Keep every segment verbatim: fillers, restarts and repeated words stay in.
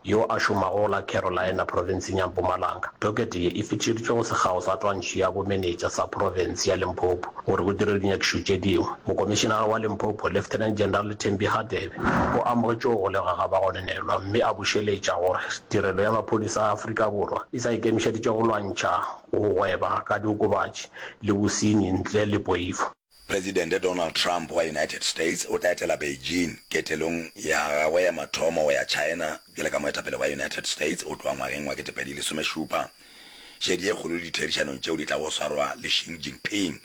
yo a šomago go la Carolina profenseng ya Mpumalanga. Dokete ye e fetišeditšwe go Sekgao sa Twantšho ya Bomenetša sa Profense ya Limpopo gore go dirwe dinyakišišo tše dingwe. Mokomišenara wa Limpopo, Lieutenant General Thembi Hadebe, o amogetše go golegwa ga bagononelwa mme a bušeletša gore Tirelo ya Maphodisa a Afrika Borwa e sa ikemišeditše go lwantšha go gweba ka diokobatši le bosenyi ntle le poifo. Presidente Donald Trump wa United States o tla etela Beijing ketelong ya gagwe ya mathomo go ya China bjalo ka moetapele wa United States go tloga ngwageng wa ketepedi lesomešupa. Šedi ye kgolo ditherišanong tšeo di tlago go swarwa le Xi Jinping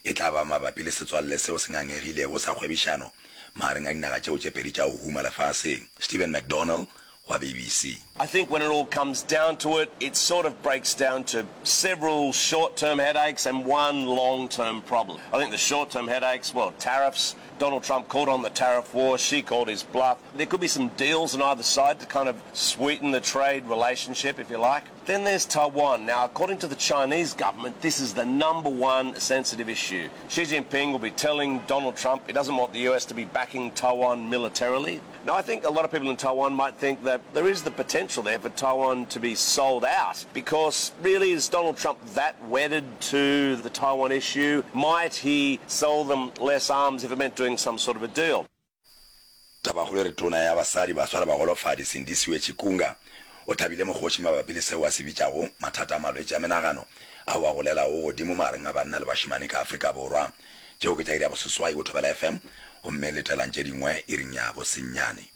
e tla ba mabapi le setswalle seo se ngangegilego sa kgwebišano magareng a dinaga tšeo tše pedi tša go huma lefaseng. Stephen McDonnell wa BBC. I think when it all comes down to it, it sort of breaks down to several short-term headaches and one long-term problem. I think the short-term headaches, well, tariffs. Donald Trump called on the tariff war. Xi called his bluff. There could be some deals on either side to kind of sweeten the trade relationship, if you like. Then there's Taiwan. Now, according to the Chinese government, this is the number one sensitive issue. Xi Jinping will be telling Donald Trump he doesn't want the U S to be backing Taiwan militarily. Now, I think a lot of people in Taiwan might think that there is the potential there for Taiwan to be sold out because really, is Donald Trump that wedded to the Taiwan issue? Might he sell them less arms if it meant doing some sort of a deal? Tabakgolo e re Tona ya Basadi, Baswa le Bagolofadi, Sindisiwe Chikunga, o hlabile mokgoši mabapi le seo a se bitšago mathata a malwetši a menagano ao a golelago godimo magareng a banna le bašemane ka Afrika Borwa. Tšeo ke tša iri ya boseswai go Thobela F M gomme letelang tše dingwe iring ya bosenyane.